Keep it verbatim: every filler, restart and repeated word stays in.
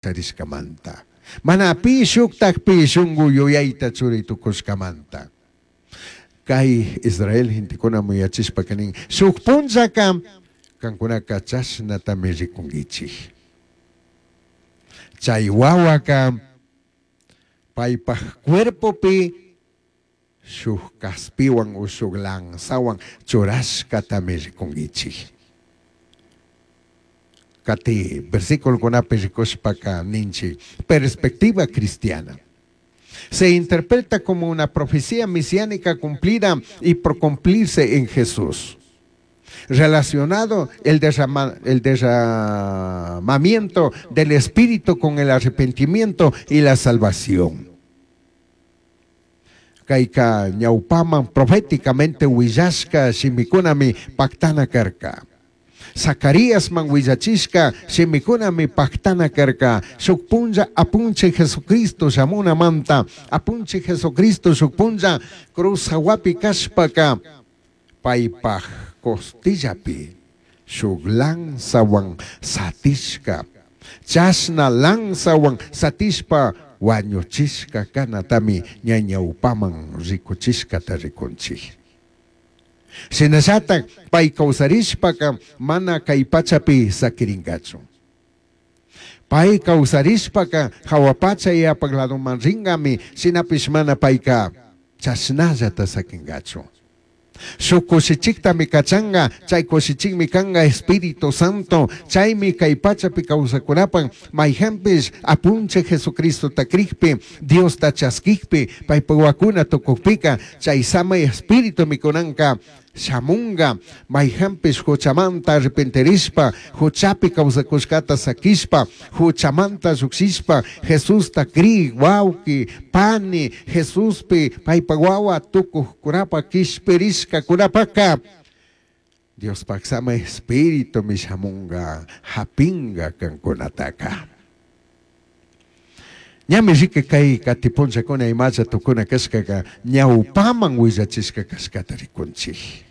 Charishcamanta. Mana pi shuktakpi shunku yuyayta churi tukushkamanta. Kay Israel gentekuna muyachishpaka nin, shuk punllaka kankunaka chashnatami rikunkichik. Chay wawaka paypaj cuerpopi shuk kaspiwan o shuk lanzawan churashkatami rikunkichik. Kati versículokunapi rikushpaka ninchik, perspectiva cristiana. Se interpreta como una profecía mesiánica cumplida y por cumplirse en Jesús. Relacionado el, derrama, el derramamiento del Espíritu con el arrepentimiento y la salvación. Kayka ñawpaman proféticamente willashka shimikunami pactana karka. Zacaríasman willachishka shimikunami pactana karka. Shuk punlla apunchik Jesucristo shamunamanta, apunchik Jesucristo shuk punlla cruz hawapi kashpaka paypaj costillapi shuk lanzawan satishka, chashna lanzawan satishpa wañuchishka kanatami ñañawpaman rikuchishkata rikunchik. Shinallatak pay kawsarishpaka mana kay pachapi sakirinkachu. Pay kawsarishpaka hawa pacha yapak ladoman ringami, shinapish mana payka chashnallata sakinkachu. Shuk kushichiktami kachanga, chay kushichikmi kanga Espíritu Santo, chaymi kay pachapi kawsakunapan mayhanpish apunchik Jesucristota krikpi, Diosta chaskikpi, paypa wakuna tukukpika, chay samay Espíritu mikunanka shamunga, mayhanpish huchamanta arrepentirishpa, huchapi kawsakushkata sakishpa, huchamanta llukshishpa, Jesusta kri, wawki, pani, Jesuspi, paypa wawa tukuqkunapa kishpirishka kunapaka, Diospaq samay Espíritu mishamunga, hapinga kankunataka. Ñami riki kay katipunchakuna imacha tukuna kashkaka ñawpaman willachishka kashkata rikunchik.